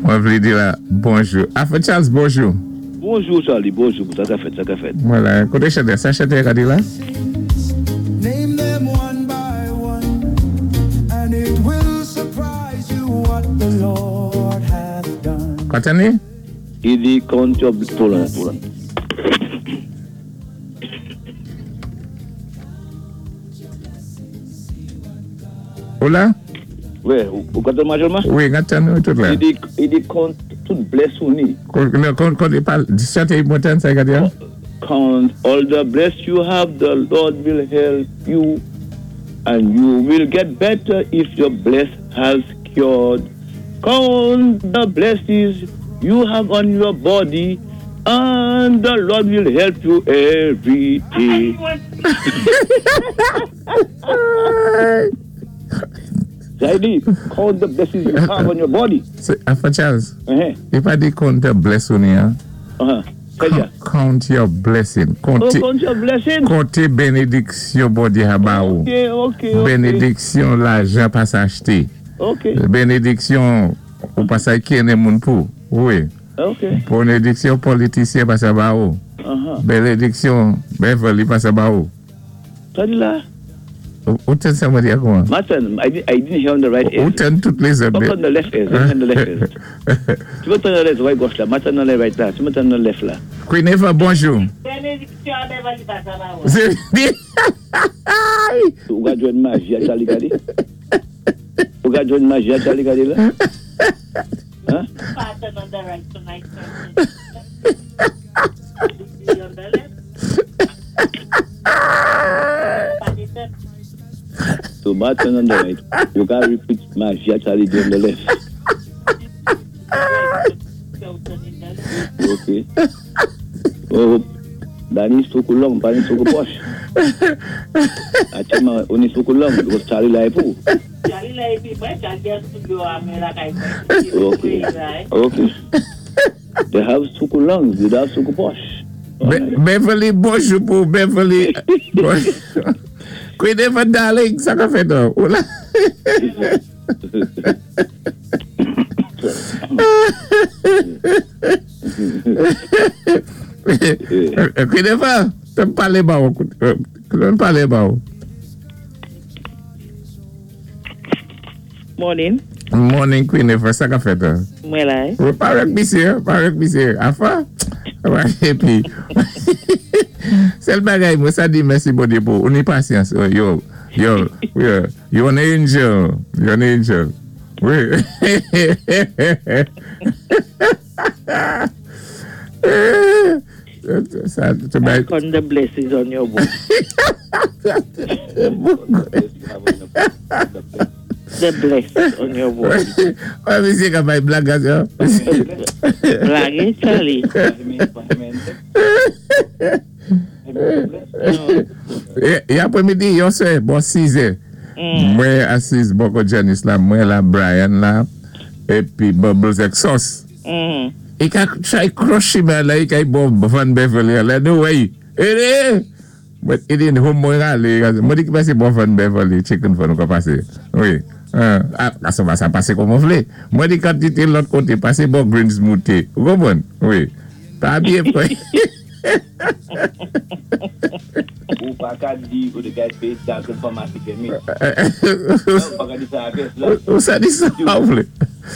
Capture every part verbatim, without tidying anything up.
Mwen vlé di la bonjou. Alpha Charles, bonjou. Bonjou Charlie, bonjou. Sa ka fèt, sa ka fèt. Vwala, koté chantè, sa chantè ka di la? Name them one by one, and it will surprise you what the Lord hath done. Kontanné? I di count your hold on, hold on. Ou la? Wè, ou ka tann majèlman? Wi, ka tann ou tout la. I di, i di count tout bless ou ni. Kon, non, kon, kon, pa, chantè mwen sa ka di la? Count all the bless you have, the Lord will help you, and you will get better if your bless has cured. Count the blessings you have on your body, and the Lord will help you every day. Sa di, count the blessings you have on your body. Sé Alpha Charles, Uh-huh. i pa di count the bless ou ni, hein? Uh-huh. Sa di. Count your blessing. Oh, Konté, count your blessing. konté bénédiksyon Bondyé a ba ou. Ok, ok, ok. Bénédiksyon lajan pa sa achté. Ok, Bénédiksyon ou pa sa kenné moun pou. Wi. ok. Bénédiksyon politisyen pa sa ba ou. Uh-huh. Bénédiksyon Beverly pa sa ba ou. Sa di la? Ou ou tann sa mwen di kouman? Martin, I, di- I didn't hear on the right ear. Ou tann tout lézòt. Pas on the left ear, on the left ear. Tu peux tourner left, right gauche la, Martin dans le right là, tu peux tourner left là. Queen Eva, bonjou. Bénédiksyon a Beverly pa sa ba ou. Sé Ou ka jwenn maji a Charlie gade? Ou ka jwenn maji a Charlie gade la? Hein? Pattern on the right tonight. On the left. Pa di tèt. So Martin on the right. You can repeat maji a Charlie on the left. Ok. Oh, Danny is too long, Danny is too posh. Actuellement, on est too long because Charlie la pou. Charlie la épi mwen, Charlie a studio a mwen la kay mwen. Ok. Ok. They have too long, they have too posh. Be- Beverly, bonjou pou Beverly. Bonjou. Queen Eva, darling, sa ka fèt ou? Ou la? Queen Eva, te palé ba ou. Te palé ba ou. Morning. Morning, Queen Eva, sa ka fèt ou? Mwen la, eh? Ou parèk misye, parèk misye. Afa? Épi, sèl bagay mwen sa di mèsi Bondyé pou ou ni pasyans. Yo, yo, yo, you an angel. You an angel. Wi. Sa, te bay- Count the blessings on your body. The blessings on your body. Wè, misye ka bay blag a sa. Blag, eh, Charlie? E, e apwé-midi, yon sé, bon sis è. Mwen asiz bò kot Janice la, mwen la, Brian la, épi Bubbles ek Sauce. Mm. I ka try crush him la, i ka bon Van Beverly la, no way. Eh, But i di home mwen ralé, mwen di ki pasé bon Van Beverly, chicken fon ou ka pasé. Wi. Ah, ah, sa va sa pasé kòm ou vlé. Mwen di kantité lòt koté, pasé bon Greens Mouté. Ou konpwann? Wi. Pa byen fè. Ou pa ka di ou de gay péyé Dalton Pharmacy fèmé. Ou pa ka di sa apès la. Ou sa di sa ou vlé.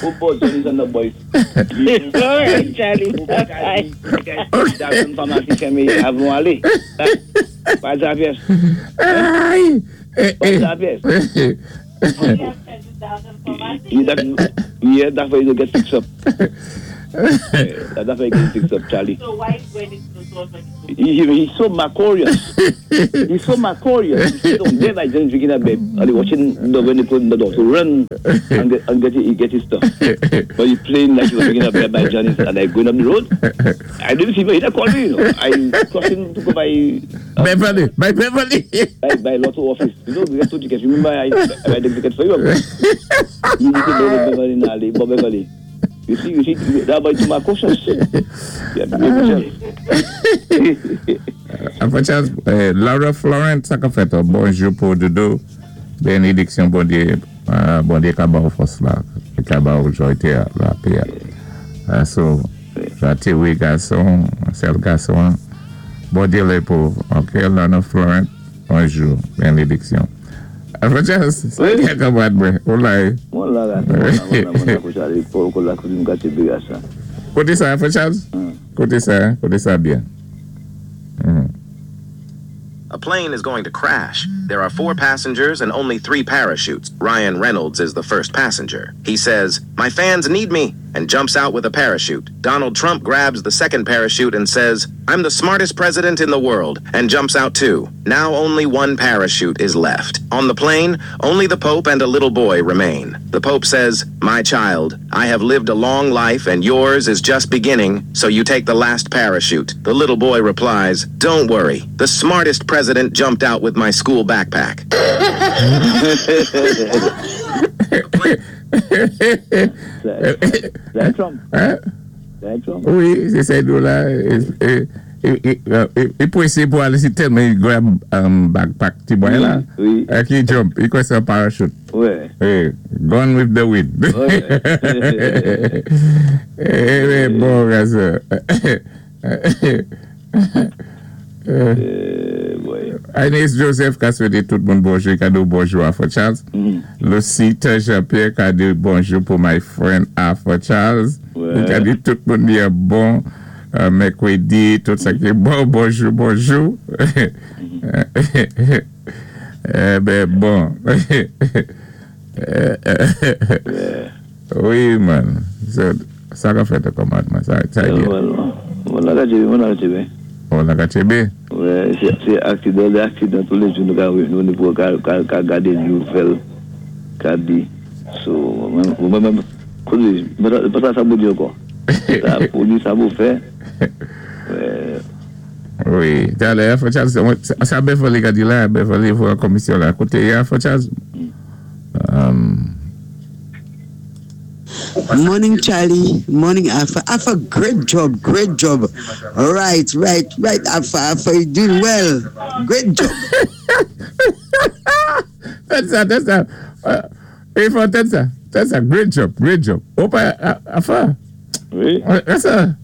Ou bon Johnny and the boys. All right, Charlie. Ou pa ka di ou de gay péyé Dalton Pharmacy fèmé avan alé. Pa di apès. Ay! Eh, Pa eh. di apès. Yeah, that, yeah, that's why you get fixed up. Yeah, that's why you get fixed up, Charlie. So why when it's not so He, he, he's so macorious. He's so macorious. He don't never just drinking a bed. And he watching the when they put in the door to run and get, and get, he get his stuff. But he playing like he was drinking a beer by Janice and I going up the road. I didn't see him. He didn't call me, you know. I crossing to go by uh, Beverly, by Beverly. by, by Lotto office. You know, we get two tickets. Remember I I buy the ticket for you. You need to go to Beverly now, Bob Beverly. You see, you see, that boy too cautious. Yeah, be yourself. Alpha Charles, eh, Laura Florent, sa ka fèt ou? Bonjou pou Doudou. Bénédiksyon Bondyé, euh, Bondyé ka ba ou fòs la, ka ba ou joy té, la pè. Ah, so, sa té wé gason, sèl gason. Bondyé lé pou. OK, Lana Florent, bonjou, bénédiksyon. Alpha Charles, sa Wi. byen kanmarad mwen. Ou la, eh? Mwen la, la, mwen la, mwen la, mwen la, pou sa, pou pou la kouzin katye biga sa. Koté sa, Alpha Charles? Hmm. Koté sa, koté sa byen. Hmm. A plane is going to crash. There are four passengers and only three parachutes. Ryan Reynolds is the first passenger. He says, My fans need me, and jumps out with a parachute. Donald Trump grabs the second parachute and says, I'm the smartest president in the world, and jumps out too. Now only one parachute is left. On the plane, only the Pope and a little boy remain. The Pope says, My child, I have lived a long life and yours is just beginning, so you take the last parachute. The little boy replies, Don't worry. The smartest president jumped out with my school backpack. C'est Trump. Hein? C'est Trump. Wi, sé sa la. É, é, é, é, é pwésé pou alé si tèlman i grab um, backpack ti boy la. Wi. É ki jump, i kwè sé yon parachute. Wè. Hey, gone with the wind. Ouais. Eh, eh, bon, gason. Euh, ouais. Agnès Joseph ka swété tout moun bonjou, ka di bonjou Arthur Charles. Mhm. Lucita Jean-Pierre ka di bonjou pou my friend Arthur Charles. Ouais. Ka di tout moun di bon euh, mèkwédi, tout sa ki bon, bonjou, bonjou. Eh ben bon. Ouais. Wi, man. So, sa ka fèt kòmandman, sa, sa di. Mwen la katye, mwen la katye, Oh, la katye Ouais, sé sé aksidan, lé aksidan tou lé jou nou ka nou ni pou ka ka ka gadé nouvèl ka di. So, mwen mwen mwen konnen, pa sa sa pou di ankò. Sa pou di sa pou fè. Ouais. Wi, talè, Arthur Charles, sa Beverly ka di la, Beverly pou la komisyon la. Koté ya, Arthur Charles? Um, Morning, Charlie. Morning, Alpha. Alpha, great job, great job. Right, right, right, Alpha. Alpha, you're doing well. Great job. That's ça, that's ça. Uh, il faut tèt sa, tèt sa, great job, great job. Opa, Alpha, Wi. that's ça.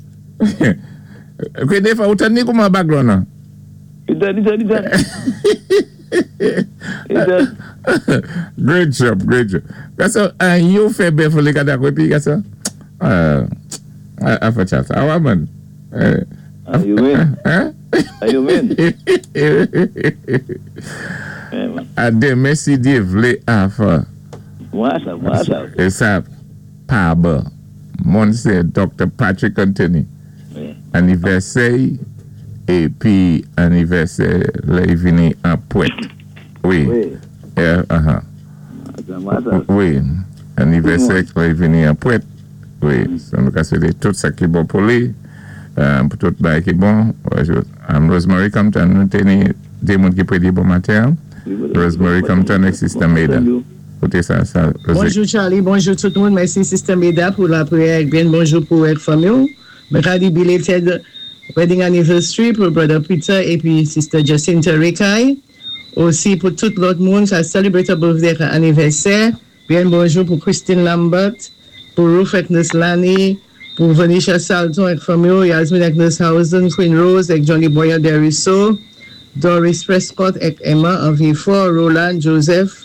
Ok, défwa, ou tann ni kouman background nan? Idan, idan, idan. Idan. Great job, great job. Gason, an yo fè Beverly ka dakò épi, gason? Uh, Alpha Charles, awa man. Uh, Ah, you mean? Hein? Ah, you mean? Eh, man. A denmen si Dyé vlé Alpha. Mwen sa, mwen sa. É sa, pa bon. Moun sé Dr. Patrick Anthony. Wi. Anivèsè épi anivèsè lè i vini an pwèt. Wi. Wi. Eh, uh-huh. Mwen sa. Wi. Anivèsè lè i vini an pwèt. Wi. So nou ka swété tout sa ki bon pou li. Euh, pou tout bagay ki bon. Um, Rosemary Compton, nou té ni dé moun ki prédi bon maten. Rosemary Compton ak Sister Maida. Koté sa, sa, Rosé. Bonjou Charlie, bonjou tout moun. Mèsi Sister Maida pou lapwiyè. Byen bonjou pou ek fanmi. Mwen ka di belated wedding anniversary pou Brother Peter épi Sister Jacinta Rekai. Osi pou tout lòt moun ki celebrate birthday anivèsè. Byen bonjou pou Christine Lambert, pou Ruth Agnes Lani, pou Venetia Salton ek fanmi, Yasmin Agnes Hausen, Queen Rose ek Johnny Boyer Deriso, Doris Prescott ek Emma Envifort, Roland Joseph,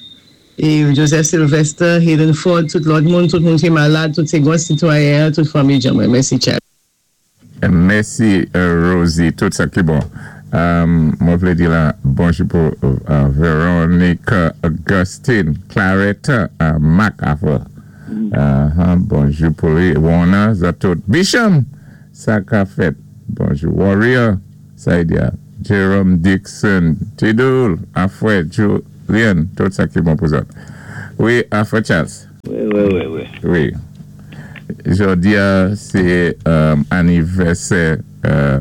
é Joseph Sylvester, Hayden Ford, tout lòt moun, tout moun ki malad, tout sé gwan sitwayen, tout fanmi Jamwe. Mèsi, Chad. Mèsi, euh, Rosie, tout sa ki bon. Um, mwen vlé di la, bonjou pou uh, Veronica Augustine, Claretta, uh, Mac Alpha. Uh-huh, bonjou pou li, Warner, sa tout. Bisham, sa ka fèt. Bonjou, Warrior, sa y di a. Jerome Dixon, Tidul, Afwe, Julian, tout sa ki bon pou zòt. Wi, Afwe Charles. Wi, wi, wi, wi. Wi. Jodi a, sé um, anivèsè euh,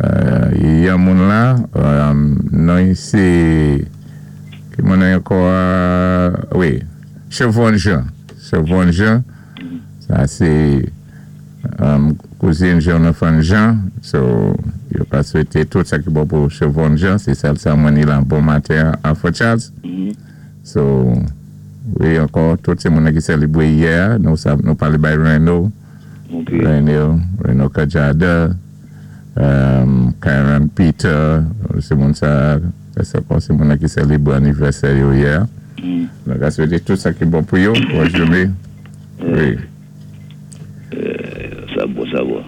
euh, yon moun la, um, non sé, ki moun ankò, euh, wi, Chevron Jean. Chevron Jean, sa sé um, kouzin Jonathan Jean, so, yo ka swété tout sa ki bon pou Chevron Jean, sé sèl sa mwen ni la bon maten Alpha Charles. Mhm. So, wi, ankò, tout sé moun ki sélébwé yè, nou sa, nou palé bay Reno, Ok. Reno, Reno Kajada, um, Karen Peter, sé moun sa, sé kon sé moun ki sélébwé anniversaire yo yè. Mm. Nou ka swété tout sa ki bon pou yo, bon jouné. Wi. Euh, sa bon, sa bon.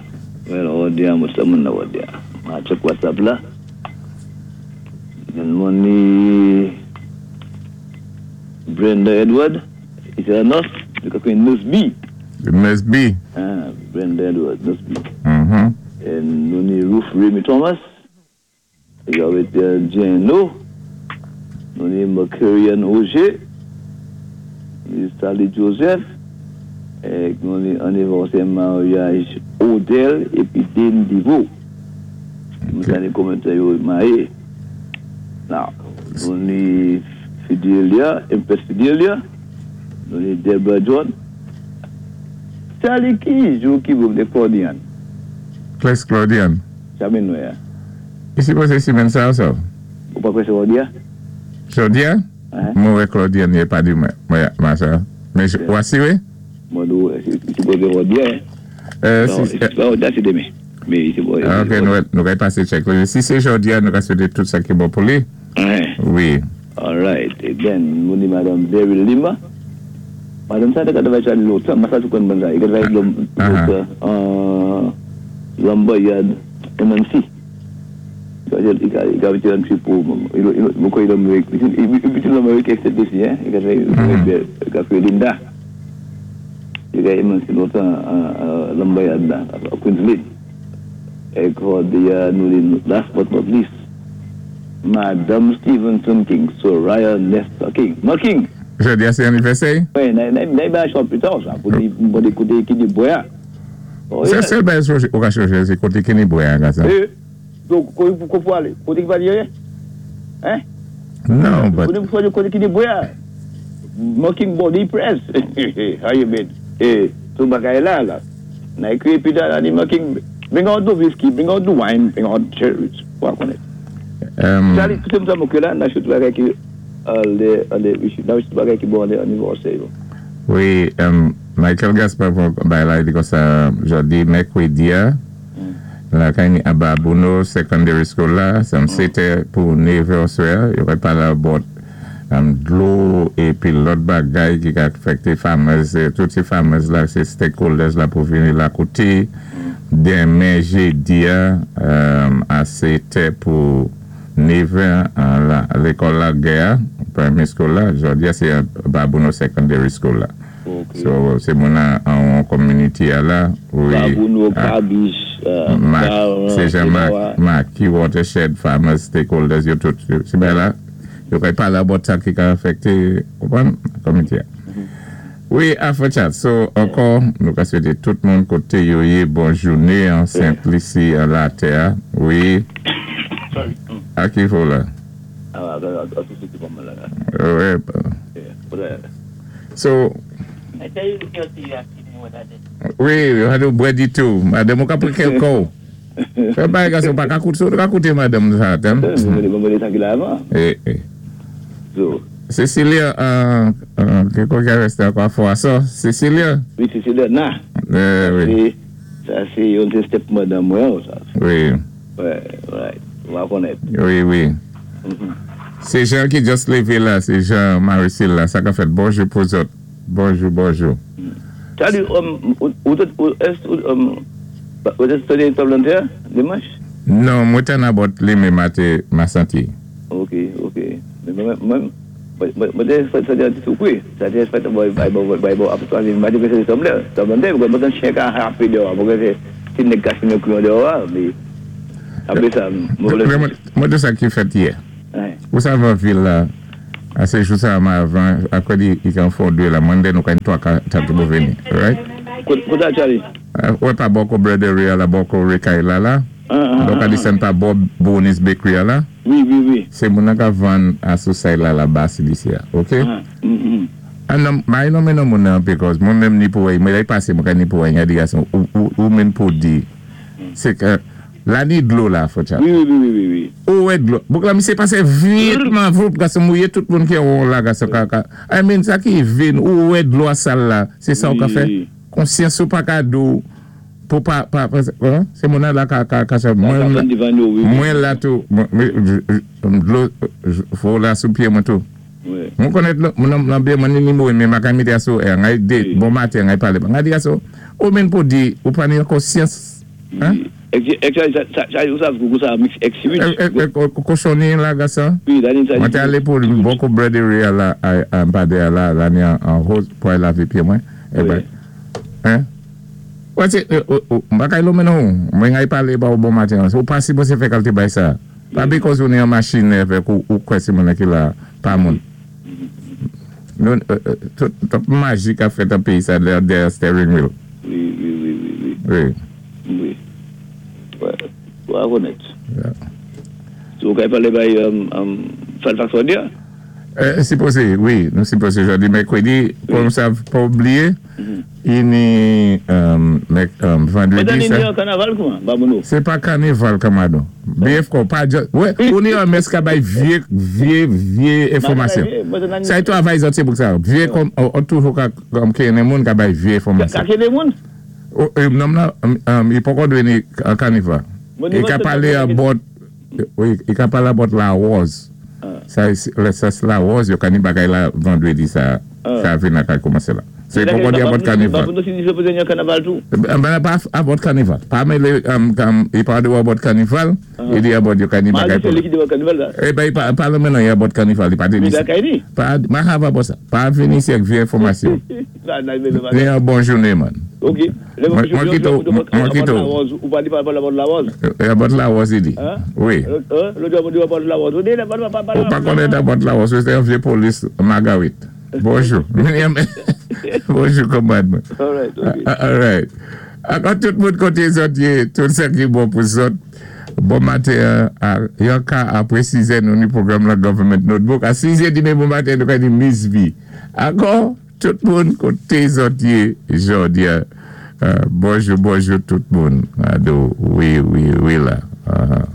Well, on dit, moi, ça, mon, on dit. Ma check WhatsApp là. Then money Brenda Edward, is a nurse, because we Nurse B. Nurse B. Ah, Brenda Edward, Nurse B. Mhm. And nous ni Ruth Remy Thomas. Il y avait euh, Jane No. Nou ni Mercurian Roger. Ni Sally Joseph. É nou ni anniversaire mariage Odell épi Dean Divo. Nou sa ni commentaire yo marié. Now, nou ni Fidelia, Empress Fidelia. Nou ni Deborah John. Charlie ki jou ki bou de Claudian? Claes Claudian. Jamais nou ya. Isi posé simenn sa sa? Ou pa kwè sé jòdi a? Jòdi a? Hein? Mwen wè Claudian yé pa di mwen, mwen mwen sa. Mais ou assuré? Mwen dou, si posé jòdi a. Euh, Non, si, si pa jòdi a, sé denmen. Mais c'est bon. Ah, ok, nou, nou ka pasé check. Si sé jòdi a, nou ka swété tout sa ki bon pou li. Hein. Wi. All right. Again, nou ni Madame Beryl Lima. Madame sa, te travay sa lontan. Mwen sa tou konn bon sa. I travay Ah, lontan. Euh, Lumberyard M M C. I ka viti an trip pou, mwen kwè l'Amérique, i viti l'Amérique except ici, hein. I ka travay, i ka fè Linda. I ka M M C lontan, Lumberyard la, à Queensland. É di nou ni, last but not least, Madame Stevenson King, Soraya Nesta King. Ma King! Jòdi a sé anniversaire? Oui, n'a n'a pas plus tard, ça, pour pour écouter qui dit boya. Oh, C'est yeah. sèl bagay ou ka changé, sé koté Kenny Boya, sa. Eh, donk, kon pou alé? Koté ki pa di ryen? Hein? Non, but Koté pou koté qui dit boya? Mocking body press. How you been? Eh, tout bagay la, la. N'a écrit puis là, dit mocking. Bring out the whiskey, bring out the wine, bring out cherries. Wa konnèt. Um, Charlie, tout sa mwen la, n'a tout bagay ki alé, alé, n'a tout bagay ki bon alé anniversaire yo. Wi, um, Michael Gaspar bay la, di kon sa, jòdi, mèkwédi a, la kay ni a Babonneau Secondary School la, sa sétè pou nevè oswè, yo va palé about um, dlo épi lòt bagay ki ka afekté farmers, eh, tout sé farmers la, sé stakeholders la pou vini la koté. Denmen jédi a, um, a sétè pou nevè an la, lékòl la Guerre, primary school la, jòdi a sé Babonneau Secondary School la. Ok. So, sé moun an an community a la, wi. Babonneau, Ah, Kabis, euh, Mac, Car- sé Jean-Marc, Marc, ki watershed farmers, stakeholders, yo tout, sé ben la, yo kay palé about sa ki ka afekté, konpwann, community a. Wi, Afro Chat, so, ankò, nou ka swété tout moun koté yo yé bon jouné an Saint-Lucie, an la tè, wi. A ki fò la? Ah, ah, ah, ah, tout ce qui va mal là. Ouais. Yeah. But, So, I tell you, look at you asking me what that is. Wi, yo had bwè di tou. Madanm ou ka pran kèl kou. Fè bagay gason pa ka koute, so ka koute madanm sa, tem. Mwen mwen mwen ki la avan. Eh, eh. So, Cecilia, euh, euh, ki kon ki reste ankò fwa sa? Cecilia? Wi, Cecilia, na. Eh, wi, C'est, ça c'est yon te step madame mwen, sa. wi, Ouais, right. On va connaître. wi, wi. Mhm. Sé Jean ki just lévé la, sé Jean Maricil la, sa ka fèt bonjou pou zòt. Bonjou, bonjou. Salut, um, ou, ou, ou, est, ou, um, ou te study Tablanterre, dimanche? Non, mwen ten abot li me mate ma santi. Ok, ok. Mais moi, moi, moi, moi, te fè sa di sou kwe. Sa te fè boy, boy, boy, boy, boy, apre toi, m'a dit que c'est Tablanterre, Tablanterre, parce que moi, chien ka happy dehors, parce que c'est une cache une clé dehors, mais après ça, moi, Mwen mwen de sa ki fèt yè. Ouais. Ou sa van vil la, a se jou sa ma avan, akwa di i kan fò dwe la, mwen den nou kan to ka tante pou veni, right? Kote Charlie? Ouè pa boko Breadery a la, boko Rekay la la, Ah, ah, donk a ah, di sen pa bo Bonus Bakery a la, Wi, wi, wi. se moun an ka van a sou say la la basi disi a, ok? Ah, mm, mm. An nan, ma yon men nan moun nan, because moun menm ni pou wè, mwen lè pase mwen ka ni pou wè, yon di gason, ou, ou, ou men pou di, se ke, la ni dlo la, fò chat. Wi, wi, wi, wi, wi, wi. Ou wè dlo. Bouk la mi se pase vitman voup, gason mouye tout moun ki yon la, gason kaka. I mean, sa ki vin, ou wè dlo a sal la, se sa ou ka fè. Wi. Konsyans ou pa ka do, Pou pa, pa, sé moun la ka, ka, ka, mwen, mwen la tou, dlo, fò la sou pyé mwen tou. Mwen konnèt, mwen nan byen mwen ni mwen, men ma ka mité aso, ngay dé, bon maten, ngay palé, ngay di aso, ou menm pou di, ou pa ni konsyans, hein? Sa, ou sav kou sa mix ex-switch? Kochoni la gasa? Mwen té alé pou bòkou breadery a la, a mpade a la, la ni an rose pou ay lavé pyé mwen. E ben, hein? Wè sé, mpa kay lo menon, mwen ngay palé ba ou bon maten, ou pa sipozé fè kalité bay sa. Pa because ou ni an machin èvèk ou, ou kwè sé moun ki la, pa moun. Nou, tout, tout maji ka fèt an péyi sa dèyè steering wheel. Wi, wi, wi, wi, wi. Wi. Wi. Wè, honnête. So, kay palé bay Fairfax jòdi a? Eh, sipozé, wi, nou sipozé jòdi mèkwédi, pou nou sav pa oubliyé, ini vandwédi sa. Mwen ni kanaval kouman, babounou? Sé pa kanaval kamadon. B F ko, pa just, wè, ou ni an mès ka bay vyé, vyé, vyé enfòmasyon. Sa y travay zòt sé pou sa. Vyé kom, ou toujou ka, kom kéné moun ka bay vyé enfòmasyon. Ka kéné moun? Nonm la, i poko dwé ni kanaval. I ka palé about, wi, i ka palé about la rose. Sa, sa la rose, yo ka ni bagay la vandwédi sa, sa vin la ka koumansé la. Se poko di about kanaval. Babounou si di se pose ni kanaval tou? Ben pa about kanaval. Pa mélé, i pa di about kanaval, i di about yo ka ni bagay pou. Ma di sé li ki di about kanaval la? Eh ben, pa pa lè menan yi about kanaval, i pa di Mi da kay ni? Pa, ma have about sa. Pa vini si ak vyé enfòmasyon. Ni an bon jouné, man. Ok. Mwen kito, mwen kito. Ou pa di pa about la rose? About la rose, i di. Wi. Lò di about la rose. Ou pa konnèt about la rose, sé yon vyé polis Margaret. Bonjou. Bonjou, konmad mwen. All right, ok. All right. Ankò tout moun koté zòt yé, tout sa ki bon pou zòt. Bon maten, yon ka apwé sizè nou ni pwogram la Government Notebook. A sizè dimi bon maten, nou ka di Miss V. Ankò, tout moun koté zòt yé, jòdi a. Bonjou, bonjou tout moun. Ado, wi, wi, wi la. Uh-huh.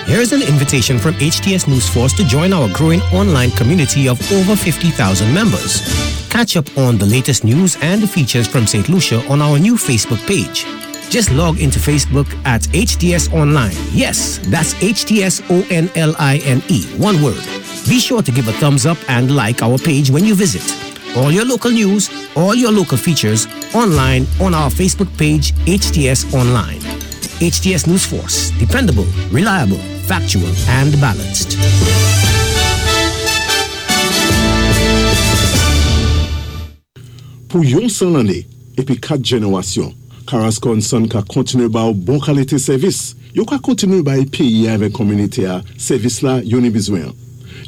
Here's an invitation from H T S News Force to join our growing online community of over fifty thousand members. Catch up on the latest news and features from Saint Lucia on our new Facebook page. Just log into Facebook at H T S Online. Yes, that's H T S O N L I N E, one word. Be sure to give a thumbs up and like our page when you visit. All your local news, all your local features online on our Facebook page, H T S Online. H T S News Force, dependable, reliable, factual, and balanced. Pou yon san lanné, épi kat jénéwasyon, Carrasco and Son ka kontiné ba ou bon kalité sèvis. Yo ka kontiné bay péyi avèk kominité a sèvis la yo ni bizwen.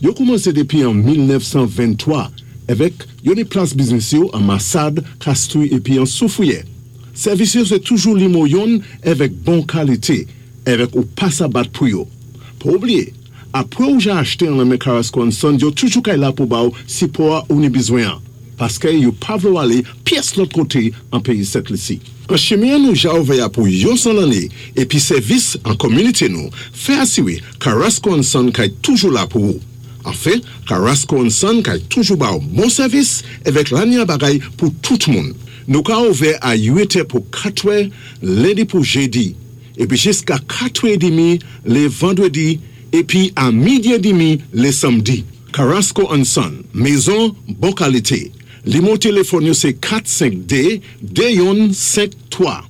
Yo koumansé dépi an mil nèf san venntwa èvèk yo ni plas biznis yo an Massade, Castries épi an Soufrière. Sèvis yo sé toujou nimo youn èvèk bon kalité, èvèk ou pa sa bat pou yo. Pa oubliyé, apwé ou ja achté an nan Carrasco and Son, yo toujou kay la pou ba ou sipò a ou ni bizwen an. Paské yo pa vlé ou alé pyès lòt koté an péyi Sent Lisi. An chimen nou ja ouvè a pou yon san lanné épi sèvis an kominité nou, fè asiwé Carrasco and Son kay toujou la pou ou. Anfen, Carrasco and Son kay toujou ba ou bon sèvis èvèk lanya bagay pou tout moun. Nou ka ouvè a uit è pou katwè, lendi pou jédi, épi jiska katwè dimi lé vandwédi, épi a midi dimi lé sanmdi. Carrasco and Son, mézon bon kalité. Nimo téléfòn yo sé kat senk dé, dé youn senk twa.